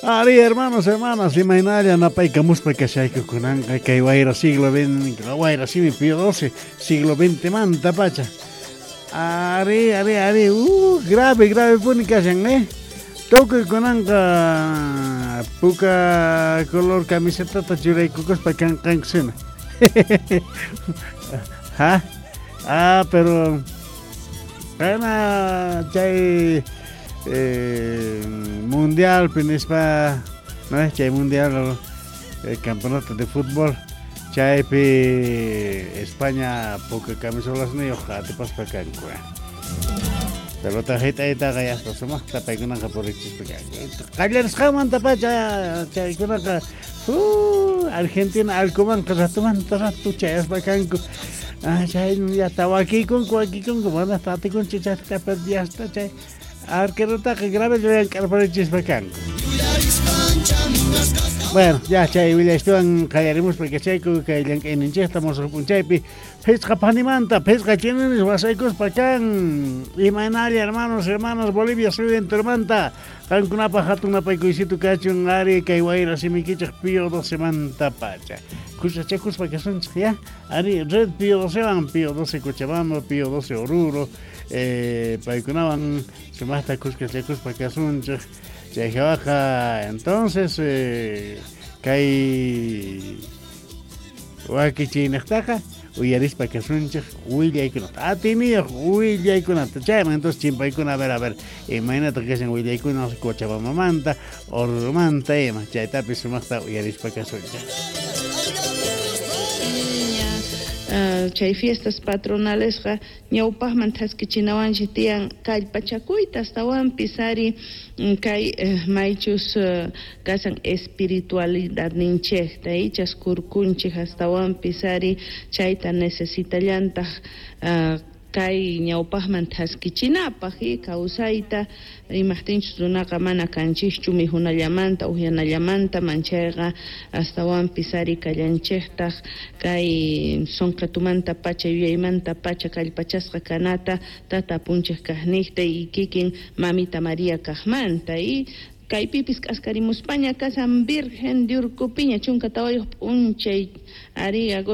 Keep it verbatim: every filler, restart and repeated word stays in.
Ari, hermanos, hermanas, imaynalla napaykamuspa kashayku kunanqa kay wayra siglo veinte, wayra simi Pío doce, siglo veinte manta pacha. Ari, ari, ari, uh, grave, grave puni kashan, eh. Tukuy kunanqa puka color camisetata churaykukuspa kanqankusina. Ha? Ah, pero kana chay eh, mundial pinispa, no chay mundial eh, campeonato de fútbol chaypi España puka camisolasniyuq atipaspa kanku. Pelota hit'aytaqa yaspa sumaqta paykunaqa purichispa kanku. Qallarisqanmanta pacha chaykunaqa uh, Argentina allkumanqa ratumanta ratu chayaspa kanku. Ah, chay llata wakikunku wakikunku mana atikunchu chayta yasta chay arquerotaqa grave llank'arparichispa kanku. Bueno, ya chay willaystuwan qallarimuspa kachayku kay llank'ayninchikta musuq p'unchaypi phisqa panimanta phisqa chininis wasaykuspa kan imaynalla hermanos hermanas Bolivia suyu enteromanta qankunapaq hatun napaykuysitu kachun ari kay wayra simikichik Pío doce manta pacha kusachakuspa kasunchik ya ari red Pío docewan Pío doce Cochabamba Pío doce Oruro eh, paykunawan sumaqta kuskachakuspa kasunchik chay hawaqa entonces eh, kay wakichiynaqtaqa uyarispa kasunchik willaykunata atiniyuq willaykunata chayman entonces chimpaykuna a ver a ver imaynataq kashan willaykuna Cochabambamanta Orurumanta ima chaytapis sumaqta uyarispa kasunchik. Uh, chay fiestas patronalesqa ñawpaqman thaskichinawanchik tiyan kallpachakuyta astawanpis ari kay uh, maychus uh, kasan espiritualidadninchikta ichas kurkunchik astawanpis ari chayta necesitallantaq uh, kay ñawpaqman thaskichinapaq y kawsayta imaqtinchus runaqa mana kanchikchu mijunallamanta uyanallamanta manchayqa astawanpis ari kallanchiktaq kay sunqatumanta pacha yuyaymanta pacha kallpachasqa kanata tata apunchik kaqniqta y kikin mamita María kaqmanta y kaypipis k'askarimuspaña kasan Virgen de Urcupiña chunka tawayuq p'unchay ari agosto.